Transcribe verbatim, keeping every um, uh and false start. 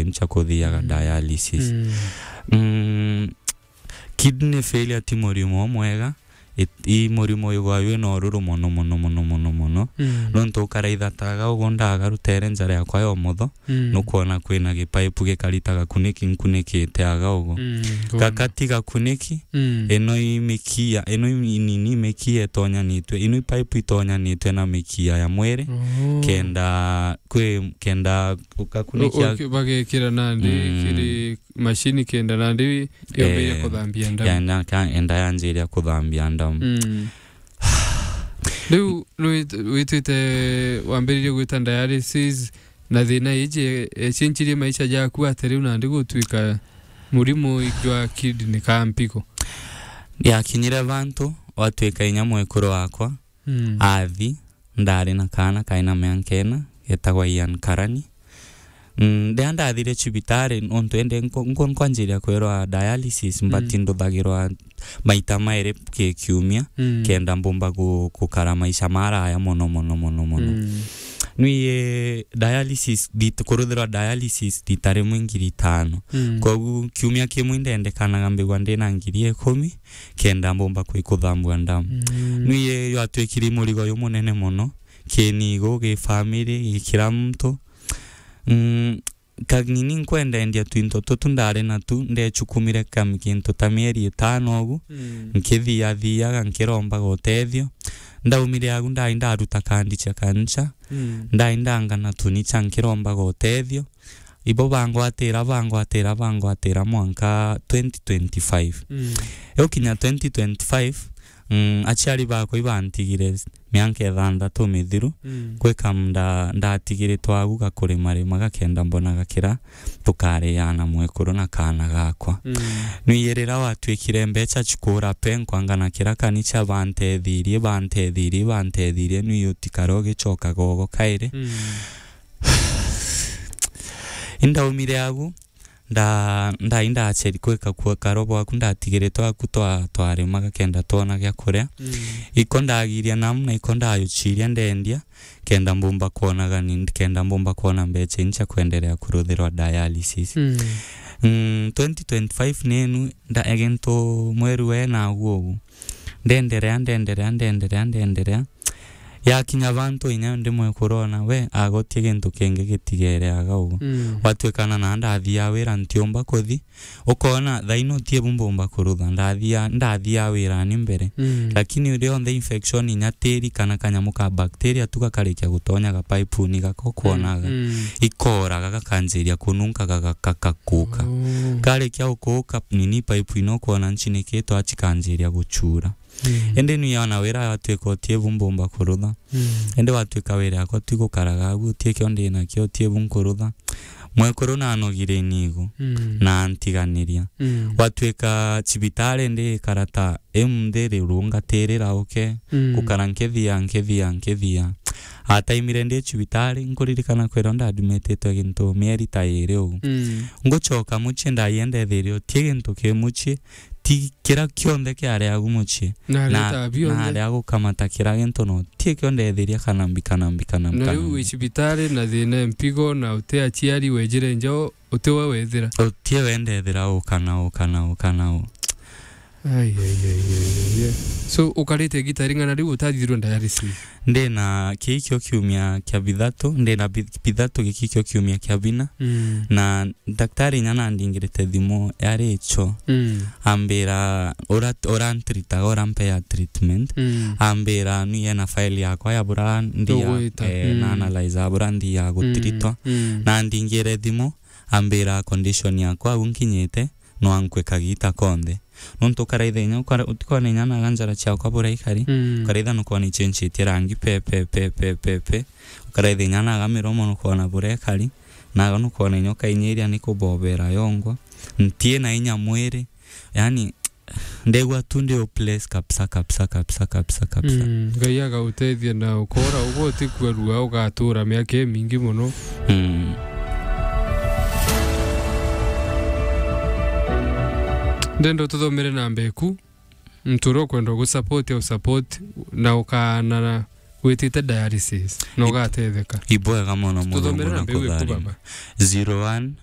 ncha kuthiaga Mm. dialysis. Mm. Mm, kidney failure ti murimo mwega, it-, i murimo igwa wina ururu mono, mono, mono, mono, mono. Mm. Nontu ukaraitha ta aga ugu ndagarutere njara yakwa ya umotho, Mm. nukwona kwina gipaipu gikarita gakuniki nkunikite aga ugu. Mm, ngona. Gakati gakuniki, Mm. ino i mikia, ino i nini mikia itonyanitwe, ino i paipu itonyanitwe na mikia ya mwiri, Oh. kenda kwi, kenda gakuniki U-, u-, bagekira nandi Mm. kiri mashini kenda nandi yambiririe Eh, kuthambia ndamu. ya, na ka-, enda yanjiria kuthambia ndamu. Mm. Riu nwit-, witwite wambiririe gwita dialysis na thina iji, e, cenjirie maisha jaku atia riu nandi gutwika murimo jwa kidney ka mpigo? Yakinyire vantu watwika inya mwekuru wakwa Mm. athi, ndari na kaana kaina mianka ina, getagwa Ian Karani. Mm, riria ndathire cibitari, nontu ende nko-, nko-, nkwanjiria kwirwa dialysis, Mm. mbati nduthagirwa maita mairi ki kiumia, Mm. kenda mbumba gu-, gukara maisha maraya mono, mono, mono, mono. Mm. Nwie dialysis, rit-, kuruthirwa dialysis rita rimwe ngiri itano. Mm. Kogu kiumia kimwe indendekanaga mbigwa ndina ngiri ikumi, kenda mbumba kwi kuthambua ndamu. Mm. Nwie yatwikire murigo jumunene mono, kinigo, gi family, gi kila muntu. Mm, kanini nkwendendia twinto tutu ndari natu, ndechukumire kam-, kintu ta mieri itano ugu, Mm. nkithiathiaga, nkirombaga utethio. Ndaumire agu ndai ndaruta kandi cia kancha, Mm. ndai ndangana tunicha nkirombaga utethio. Ibo bangwatira, bangwatira, bangwatira mwanka twenty twenty-five. Mm. Iu kinya twenty twenty-five, mm, aciari bakwa ibantigire mianka ithanthatu mithiru, Mm. gwika nda-, ndatigiritwe agu gakurimarima gakenda mbonaga kira tukariana mwekuru na kaana gakwa. Mm. Nwie riria watwikire mbecha chikura pe, nkwangana kira kanicha bantethirie, bantethirie, bantethirie, nwie utikare ugichokaga ugo kairi. Mm. Indaumire agu, nda-, ndai ndacheri kwika kua karo bwaku, ndatigiritwe aku twa-, twarimaga kenda twona gia kuria. Mm. Iko ndagiria namu na iko ndayuchiria ndendia, kenda mbumba kwonaga ni, kenda mbumba kwona mbecha incha kwenderea kuruthirwa dialysis. Mm. Mm, twenty twenty-five nenu, nda-, egintu mweru we nagu ugu. Ndenderea, ndenderea, ndenderea, ndenderea. Yakinya bantu inya ndimwe kurona, we, agotie gintu kingi gitigere aga ugu. Mm. Watwikana na ndathia wira ntiumba kuthi. Ukona, thaino tie bu mbumba kurutha. Ndathia, ndathia wira ni mbere. Mm. Lakini rionthe infection inya tiri kana kanyamu ka bacteria tu gakarikia gutonya ga pipe-ini gako kwonaga. Mm, mm. Ikoraga gakanjiria kununka gagaka gakuka. Oh. Karikia gukuka nini pipe ino kwona nchinikitwe achikanjiria guchura. Mm. Indi nwi ona wira watwika utie bu mbumba kurutha. Mm. Indi watwika wira yakwa tu gukaraga agu, utie kio ndi nakio, utie bu nkurutha. Mwekuru nanogire inigo, Mm. na antiganiria. Mm. Watwika cibitari ndi ikara ta iu nthi rirungatirira uke, Mm. gukara nkithia, nkithia, nkithia. Ataimire ndi cibitari, nkuririkana kwirwa ndadmititwe gintu mieri ta iri ugu. Mm. Nguchoka muchie ndaie ndethirie utie gintu ki muchie, ti kira kionthe kiari agu muchie. Na, na, na aria gukamata kira gintu no ti kio ndethiria kana mbi, kana mbi, kana mbi, na kana riu mbi. Wi cibitari na thina mpigo na uti aciari wejire nja uti we wethira. Uti we ndethira u kana u kana u kana u. Ai, ai, ai, ai, ai, ai. So, ukarite gita ring'ana riu utathithirwe dialysis? Ndina kii kio kiumia kia bithatu, ndina bi-, bithatu giki kio kiumia kia bina. Mm. Na Daktari inya nandingirite thimu yari icho. Mm. Ambira, "Ura, urantritaga, urampea treatment." Mm. Ambira, "Nui ena file yakwa ya bura ndia, Ugwita. Eh, Mm. na analyze bura ndia gutritwa." Mm. Na andingire thimu, ambira, "Condition yakwa au nkinyite, no ankwe kagita konthe." Nontu ukaraitha inya, ukara-, utikona inya naga njara ciakwa bura ikari, Mm. ukaraitha nukona ichenchitie rangi pe, pe, pe, pe, pe, pe. Ukaraitha inya naga miromo nukona bura ikari, naga nukona inya ukainyiria ni kubobera yongwa. Ntie na inya mwiri, yani, ndegwa tu ndi hopeless kabisa, kabisa, kabisa, kabisa, kabisa. Mm, Ngai agautethia na ukora uguo utikua rua, ugatura miaka imingi muno. Mm. Ndenda ututhomere namba eku, muntu uria ukwenda gusupport au support, na ukaana na witite dialysis, na ugatetheka. Ibwega mono, Tuthomere Murungu na namba iu eku, nakutharimia. Baba. Zero one